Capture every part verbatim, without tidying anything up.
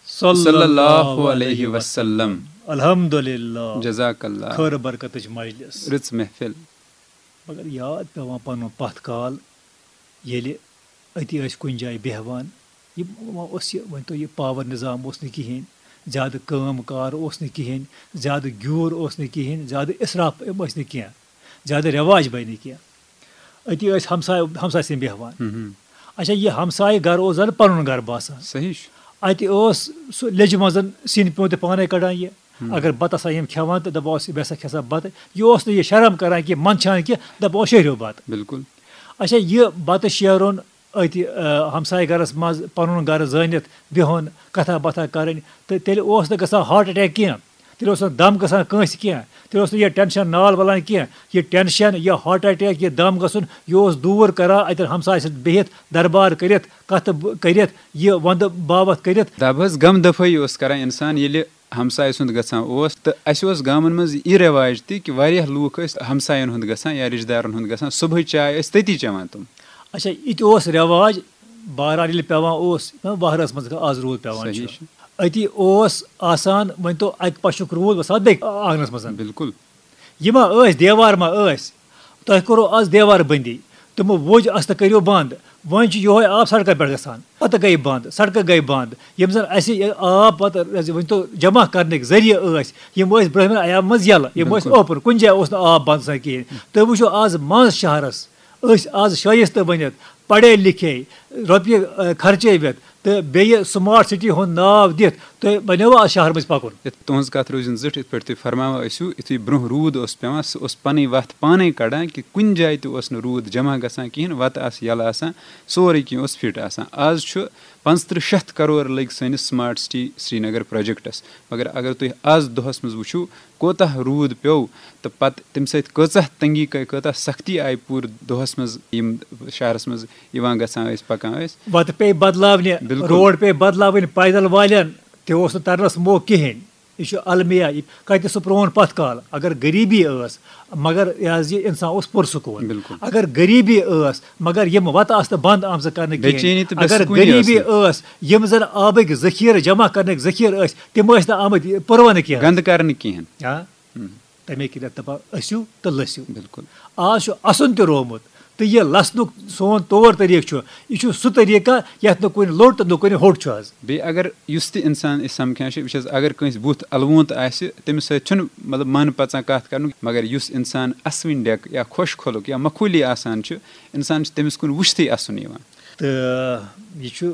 صلی اللہ علیہ وسلم۔ الحمدللہ۔ جزاک اللہ۔ خٲر برکتٕچ مجلس۔ رٕژ محفل۔ مگر یاد پٮ۪وان پنُن پتھ کال، ییٚلہِ أتی ٲسۍ کُنہِ جایہِ بیٚہوان۔ یہِ وۄنۍ اوس یہِ، ؤنۍ تو، یہِ پاور نظام اوس نہٕ کِہیٖنۍ، زیادٕ کٲم کار اوس نہٕ کِہیٖنۍ، زیادٕ گیوٗر اوس نہٕ کِہیٖنۍ، زیادٕ اِسراف ٲسۍ نہٕ کینٛہہ، زیادٕ رٮ۪واج بَنہِ نہٕ کینٛہہ۔ أتی ٲسۍ ہمساے، ہمساے سٕنٛدۍ بیٚہوان۔ ہم ہم۔ اچھا، یہِ ہمسایہِ گرٕ اوس زن پنُن گرٕ باسان۔ صحیح چھُ۔ اتہِ اوس سُہ لیٚجہِ منٛز سِنۍ پیوٚنٛد تہِ پانے کڑان یہِ۔ ہم۔ اگر بتہٕ آسان یِم کھٮ۪وان تہٕ دپان اوس، "یہِ ہسا کھےٚ سا بتہٕ"۔ یہِ اوس نہٕ یہِ شرم کران کینٛہہ، منٛدچھان کینٛہہ، دپان اوس، "شیرِو بتہٕ"۔ بِلکُل۔ اچھا، یہِ بتہٕ شیرُن أتھۍ، آ، ہمسایہِ گرس منٛز پنُن گرٕ زٲنِتھ بِہُن، کتھا باتھا کرٕنۍ، تہٕ تیٚلہِ اوس نہٕ گژھان ہارٹ اٹیک کینٛہہ۔ تیٚلہِ اوس نہٕ دم گژھان کٲنٛسہِ کینٛہہ، تیٚلہِ اوس نہٕ یہِ ٹینشن نال ولان کینٛہہ۔ یہِ ٹینشن، یہِ ہارٹ اٹیک، یہِ دم گژھُن، یہِ اوس دوٗر کران اتٮ۪ن ہمسایہِ سۭتۍ بِہِتھ، دربار کٔرِتھ، کتھٕ ب-، کٔرِتھ، یہِ وندٕ باوتھ کٔرِتھ۔ دب حظ، غم دفٲیی اوس کران انسان، ییٚلہِ ہمسایہِ سُنٛد گژھان اوس۔ تہٕ اسہِ اوس گامن منٛز یہِ رٮ۪واج تہِ کہِ واریاہ لوٗکھ ٲسۍ ہمساین ہُنٛد گژھان یا رشتہٕ دارن ہُنٛد گژھان، صبحٕچ چاے ٲسۍ تٔتی چٮ۪وان تِم۔ اچھا، یہِ تہِ اوس رٮ۪واج، بہرحال ییٚلہِ پٮ۪وان اوس، یہِ وہرٲژ منٛز آز روٗد پٮ۪وان چھُ۔ صحیح چھُ۔ أتی اوس آسان، ؤنۍ تو، اکہِ پشُک روٗد وسان بیٚیہِ آنٛگنس منٛز۔ بِلکُل۔ یہِ ما ٲسۍ، دیوار ما ٲسۍ؟ تۄہہِ کوٚروٕ آز دیوار بندی، تِمو ووٚج، استہٕ کٔرِو بند۔ وۄنۍ چھُ یِہوے آب سڑکن پٮ۪ٹھ گژھان، پتہٕ گٔیہِ بند، سڑکہٕ گٔیہِ بند۔ یِم زن اسہِ یہِ آب پتہٕ، ؤنۍ تو، جمع کرنٕکۍ ذٔریعہٕ ٲسۍ، یِم ٲسۍ برٛونٛہمٮ۪ن ایامن منٛز یلہٕ، یِم ٲسۍ بِلکُل۔ اوپُن، کُنہِ جایہِ اوس نہٕ آب بند آسان کِہیٖنۍ۔ تُہۍ وٕچھِو آز منٛز شہرس، أسۍ آز شٲیستہٕ بٔنِتھ، پڑھے لکھے، رۄپیہِ، آ، خرچٲوِتھ تہٕ بیٚیہِ سمارٹ سٹی ہُنٛد ناو دِتھ، تۄہہِ بنیووٕ آز شہر مٔنٛزۍ پکُن؟ یتھ تُہنٛز کتھ روزِن زِٹھ، یِتھ پٲٹھۍ تُہۍ فرماوان ٲسِو، یُتھُے برٛونٛہہ روٗد اوس پٮ۪وان، سُہ اوس پنٕنۍ وتھ پانے کڑان کہِ کُنہِ جایہِ تہِ اوس نہٕ روٗد جمع گژھان کِہیٖنۍ، وتہٕ آسہٕ یلہٕ آسان، سورُے کینٛہہ اوس فٹ آسان۔ آز چھُ پانٛژترٕٛہ شیٚتھ کرور لٔگۍ سٲنِس سمارٹ سٹی سرینگر پروجیکٹس، مگر اگر تُہۍ آز دۄہس منٛز وٕچھِو، کوتاہ روٗد پیوٚو تہٕ پتہٕ تَمہِ سۭتۍ کۭژاہ تنگی گٔے، کۭژاہ سختی آیہِ پوٗرٕ دۄہس منٛز، یِم شہرس منٛز یِوان گژھان ٲسۍ، پکان ٲسۍ۔ وتہٕ پیٚیہِ بدلاونہِ، بِلکُل۔ روڈ پیٚیہِ بدلاوٕنۍ، پیدل والٮ۪ن تہِ اوس نہٕ ترنس موقعہٕ کِہیٖنۍ۔ یہِ چھُ المیہ، یہِ کتہِ سُہ پرون پتھ کال۔ اگر غریبی ٲس، مگر یہِ حظ یہِ انسان اوس پُرسکوٗن۔ بِلکُل۔ اگر غریبی ٲس، مگر یِم وتہٕ آسہٕ نہٕ بند آمژٕ کرنہٕ بے کِہیٖنۍ۔ چینی تہٕ بے اگر سکوٗنی ٲس غریبی نہٕ۔ ٲس، یِم زن آبٕکۍ ذخیرٕ جمع کرنٕکۍ ذخیرٕ ٲسۍ، تِم ٲسۍ نہٕ آمٕتۍ پُروانہٕ کینٛہہ۔ گنٛدٕ کرنہٕ کِہیٖنۍ۔ آ؟ ہم۔ تَمے کِنٮ۪تھ دَپان، "ٲسِو تہٕ لٔسِو۔" بِلکُل۔ آز چھُ اَسُن تہِ روومُت، تہٕ یہِ لَسنُک سون طور طریٖقہٕ چھُ، یہِ چھُ سُہ طریٖقہ یَتھ نہٕ کُنہِ لوٚٹ تہٕ نہٕ کُنہِ ہوٚٹ چھُ آز۔ بیٚیہِ اگر یُس تہِ اِنسان أسۍ سَمکھان چھِ، وٕچھ حظ، اگر کٲنٛسہِ بُتھ اَلوُنٛت آسہِ، تٔمِس سۭتۍ چھُنہٕ، مطلب، من پَژان کَتھ کَرنُک، مگر یُس اِنسان اَسوٕنۍ ڈٮ۪کہٕ یا خۄش خۄلُق یا مخوٗلی آسان چھُ، اِنسان چھُ تٔمِس کُن وٕچھتھٕے اَسُن یِوان۔ تہٕ یہِ چھُ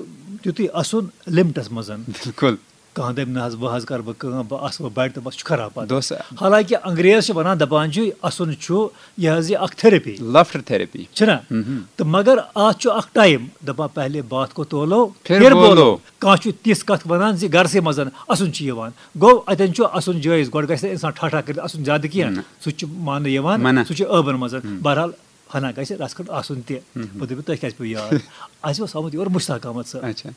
تیُتُے اَسُن لِمٹَس منٛز۔ بِلکُل۔ کانٛہہ دَپہِ، "نہ حظ، وۄنۍ حظ کَرٕ بہٕ کٲم، بہٕ اَسہٕ وۄنۍ بَڑِ تہٕ بَس چھُ خراب پَتہٕ۔" دوس۔ حالانکہِ انگریز چھِ وَنان، دَپان چھِ، اَسُن چھُ یہِ حظ یہِ اَکھ therapy۔ Laughter therapy۔ چھُنہ؟ مہم۔ تہٕ مگر اَتھ چھُ اَکھ time، دَپان، "پہلے بات کو تولو، پھر پھر بولو۔" بولو۔ کانٛہہ چھُ تِژھ کَتھ وَنان زِ گَرسٕے منٛز اَسُن چھُ یِوان۔ گوٚو، اَتٮ۪ن چھُ اَسُن جٲیِز، گۄڈٕ گژھِ نہٕ اِنسان ٹھاٹھا کٔرِتھ اَسُن زیادٕ کینٛہہ۔ نہ۔ سُہ چھُ ماننہٕ یِوان، منع۔ سُہ چھُ ٲبَن منٛز۔ ہم۔ بہرحال، ہنا گژھِ رَژھ کھنٛڈ آسُن تہِ۔ ہم۔ بہٕ دَپہٕ، تۄہہِ کیٛازِ پیوٚو یاد؟ اَسہِ اوس آمُت یور مُشتاق احمد صٲب۔ اچھا۔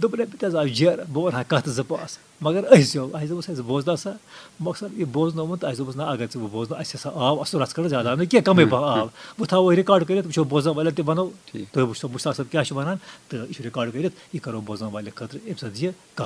دوٚپُن، "ہے، مےٚ تہِ حظ آو جیرٕ، بہٕ وَنہٕ ہا کَتھ زٕ پانٛژھ۔" مگر أسۍ زیو، اَسہِ دوٚپُس، "ہے، ژٕ بوزناو سا؟" مۄخصر یہِ بوزنومُت، اَسہِ دوٚپُس، "نہ، اگر ژٕ بہٕ بوزناو، اَسہِ ہسا آو اَصٕل رَژھ کھنٛڈ زیادٕ آو نہٕ کینٛہہ، کَمٕے ہم، پَہَم آو۔ ہم۔ بہٕ تھاوو یہِ record کٔرِتھ، وٕچھو بوزَن والٮ۪ن تہِ وَنو، ٹھیٖک۔ تُہۍ وٕچھتو مُشتاق صٲب کیٛاہ چھُ وَنان، تہٕ یہِ چھُ record کٔرِتھ، یہِ کَرو بوزَن والٮ۪ن خٲطرٕ اَمہِ ساتہٕ یہِ کَتھ۔"